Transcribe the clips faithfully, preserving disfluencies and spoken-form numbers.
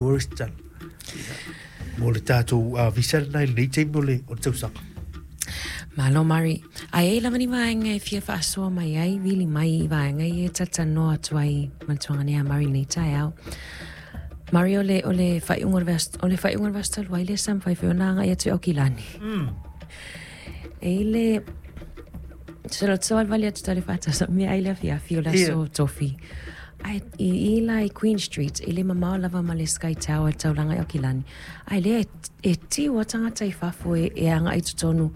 Tourist tala mo le tatou visa lena i lenei taimi o le o le tausaga. Malo Mari. Ae i ai lava ni vaega e fia faasoa mai ai, vili mai i vaega ia e talatalanoa atu ai ma le tuaga ia Mari i lenei taeao. Mari, o le, o le faaiuga o le vaiaso, o le faaiuga o le vaiaso talu ai lea sa mafai foi ona agai atu i Aukilani. E i le, se savalivali atu tau le faatasi mea ai le afiafi o le aso Tofi. Ae i i la i Queen Street, e le mamao lava ma le Sky Tower i le taulaga i Aukilani. Ae lea e, e tiu a tagata i fafo e, e agai i totonu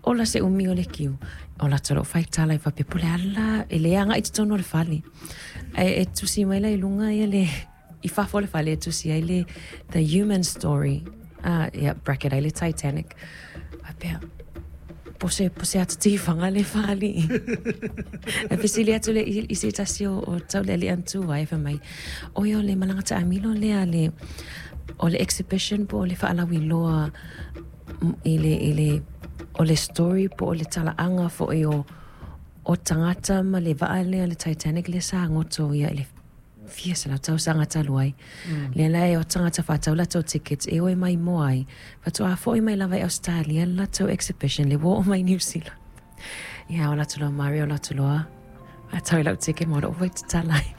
ola se umi o le kiu. O latou loo faitala i faapea po o le a la e le agai i totonu o le fale. Ae e tusi mai la i luga ia le i fafo o le fale e tusi ai le The Human Story. Ah, ia, bracket ai le Titanic. Faapea, po se, po se ata tifaga le fali. E fesili atu le i, i se tasi o, o taulealea na tu ai fai mai. O ia o le malaga taamilo lea le, o le exhibition po o le faalauiloa i le, i le, o le story po o le talaaga foi o, o tagata ma le vaa lea le Titanic lea sa goto ia i le fia selau tausaga talu ai. Lea la e o tagata faatau latou tickets e o e maimoa ai. Faatoa foi mai lava i Australia le latou exhibition le ua oo mai New Zealand. Ia o latou loa Mari o latou loa faatau i lau ticket ma o lou foi tatala ai.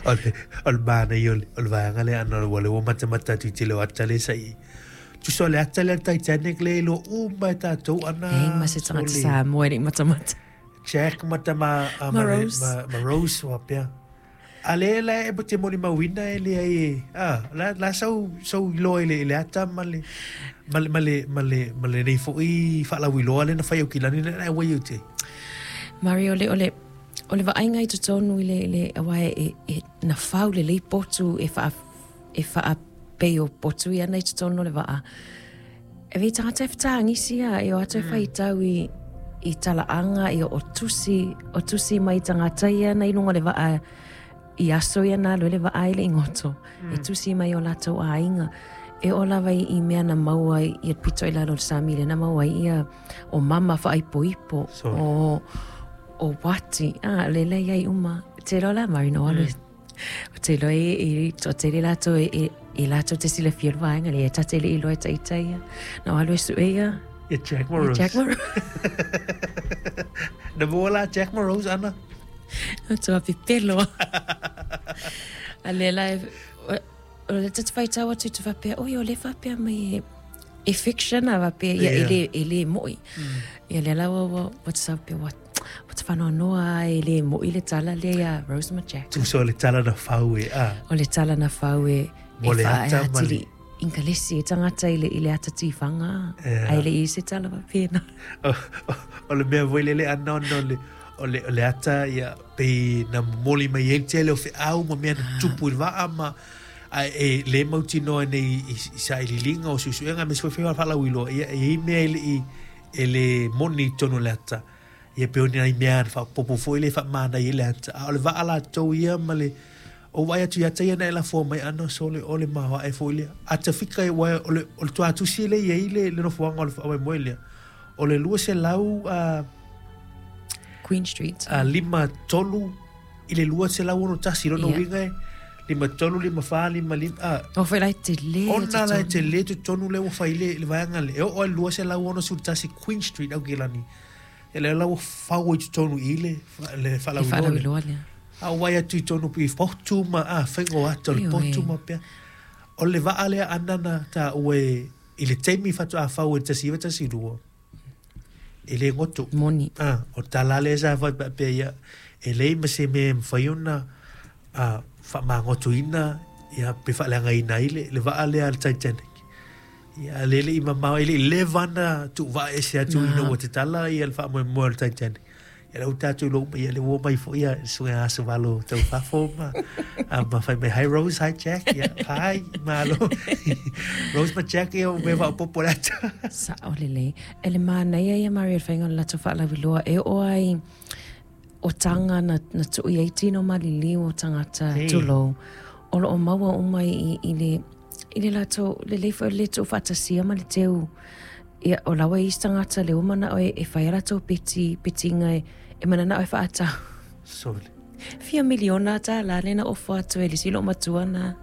O le o le manaia o le o le vaega lea ana ua le ua matamata atu i tele o ata le sa i tusa o le ata lea le Titanic le iloa uma e tatou ana E ma se tagata Samoa e le i matamata. Jack ma tama a Ma ma, Rose. ma, ma Rose faapea. A le la e te molimauina e le ai e ah la la sau sau iloa i le i le ata ma le ma le ma le ma le ma lenei foi faalauiloa le na fai Aukilani le na e uai te. Mari, o le, o le, o le vaaiga i totonu i le, i le aua e, e, na fau lelei potu e wha, e whaapei o potu ia na i totonu o le vaa. E vei tagata e whataangisi ia, e o atu e whaitau i, i talaaga, i o tusi, o tusi mai tagata ia na i lunga o le vaa, i aso ia na alu ai le vaa i le igoto. E tusi mai o latou aiga. E oo lava i, i mea na maua i, i pito i lalo o le sami le na maua ai ia o mama whaaipoipo, Sorry. o, o wati, ah, le le iai uma. Te loa la Mari no alu. O te loa e, e, o te le latou e, e, e latou te silafia le vaega le e tate le iloa e taitai ia. Na o alu e sue ia. Ia Jack Ia ma Rose. Jack ma Rose. Na maua la Jack ma Rose ana. O tua pepelo. A le la e, o, o le tata whaitau atu te whapea, oi o le whapea mai e, e fiction a whapea, ia e le, e le moi. Ia le la ua, ua, ua te sau pea, ua, ua te whanoanoa e le moi le tala le ia Rose ma Jack. Tusa o le tala na fau e ah. O le tala na fau e, Mo e le wha ata e ma le- atili ingalesi e tangata i le, i le ata tiwhanga. Ia. Ai le i se tala wapena. O, o, o le mea foi lele ana ona o le o le, o le ata ia pe na momoli mai ai le tele o feau ma mea na tupu i le vaa ma a e le mautinoa nei i, i sailiiliga o suesuega me se foi faalauiloa ia e i mea e le i e le moni i totonu o le ata ia pe o ni nai mea na faapopo foi le faamanaia i le ata a o le vaa latou ia ma le o vaai atu ia ata ia na e lafoa mai ana sole o le maoae foi lea ata fika e uae o le o le tuatusi le i ai le le nofoaga o le faamoemoe lea o le lua selau a Queen Street. a lima tolu i le lua selau ono tasi lona Ia. uiga e lima tolu lima fa lima lima a O foi lai te le ona la e te le totonu le ua fai le le vaega le e oo ai le lua selau ono sefulu tasi Queen Street Aukilani e le la ua fau ai totonu i le fa- le Le faalauiloa le whaalauiloa lea. a uai atu i tonu i potu ma a faiga o ata o le Ioe. potu ma pea o le vaa lea ana na taua e i le taimi faatoa fau e le tasi iva tasi lua e le goto. Moni. Ah, o tala lea sa fai faapea ia e leai ma se mea e mafai ona ah, faamagotoina ia pe faaleagaina ai le, le vaa lea a le Titanic. Ia le le i mamao e le i leva ona tuuvaa ese atu ina ua tatala ia le faamoemoe o le Titanic. Ia le ua tatou iloa uma ia le ua mai foi ia suega aso valo tau fafo ma ah, ma fai mai hi Rose, hi Jack, ia hi malo. Rose ma Jack ia o mea faaopoopo le ata. Sa o lelei. E le manaia ia Mari o le faiga o le latou faalauiloa e oo ai o taga na, na tuu i ai tino maliliu o tagata Ei. tulou. O loo maua uma i, i le i le latou lelei foi o le tuufaatasia ma le teu ia o laua i isi tagata le ua manao e, e fai a latou peti petiga e, e mananao e faatau. Sole. Fia miliona tālā le na ofo atu e le isi loo matua na